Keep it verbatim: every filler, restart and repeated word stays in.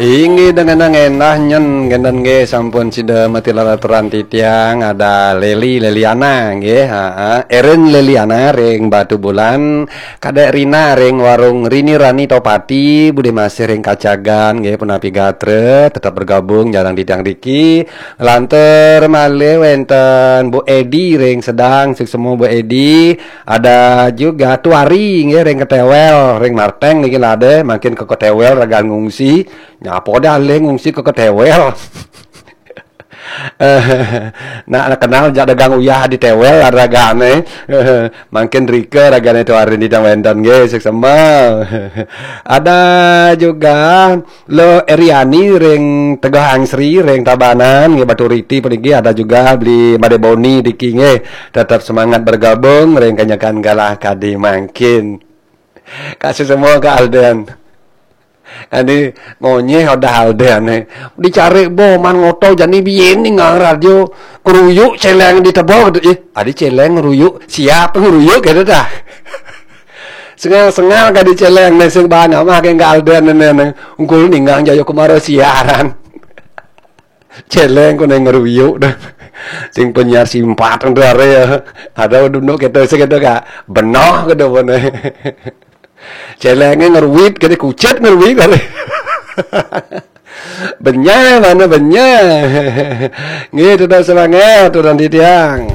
Inggih dengan endah nyen genten nggih sampun sida matilar aturan titiang ada Leli Leliana nggih, heeh. Erin Leliana ring Batubulan, Kadek Rina ring Warung Rini Rani Topati, Bude Masih ring Kacagan nggih, punapi gatra, tetap bergabung sareng titiang niki. Lantur malih wenten Bu Edi ring Sedang, suksma Bu Edi. Ada juga Tuari nggih ring Ketewel, ring Marteng niki lade, mangkin ke Ketewel ragan ngungsi. Nyapa dah alih ngungsi ke Ketewel. Nak kenal jak dagang uyah di Tewel ragane. Mangkin rika ragane Tuari niki wenten nggih, suksma. Ada juga Lo Eriani ring Tegah Angsri ring Tabanan nggih, Batu Riti puniki, ada juga Beli Made Boni niki nggih. Tetap semangat bergabung ring kanyakan galah kadi mangkin. Kasih semua ke Alden. Adi ngonyeh udah Alden eh. Dicari boman ngoto jani biyen ning radio ngeruyuk celeng di tebok. Ih, adi celeng ngeruyuk, siap ngeruyuk gitu dah. Sengal-sengal kadi celeng ne sing bana mah ke Alden ne ne. Ungkul ninggang jaya kemaro siaran. Celeng ko neng ngeruyuk dah. Sing penyiar simpat ntar ya. Ada duduk kita sing kita kak benoh ke depan. Celenge ngeruit kene kucet ngeruit kene. Benyah mana benyah. Nggih, tetap semangat turan titiang.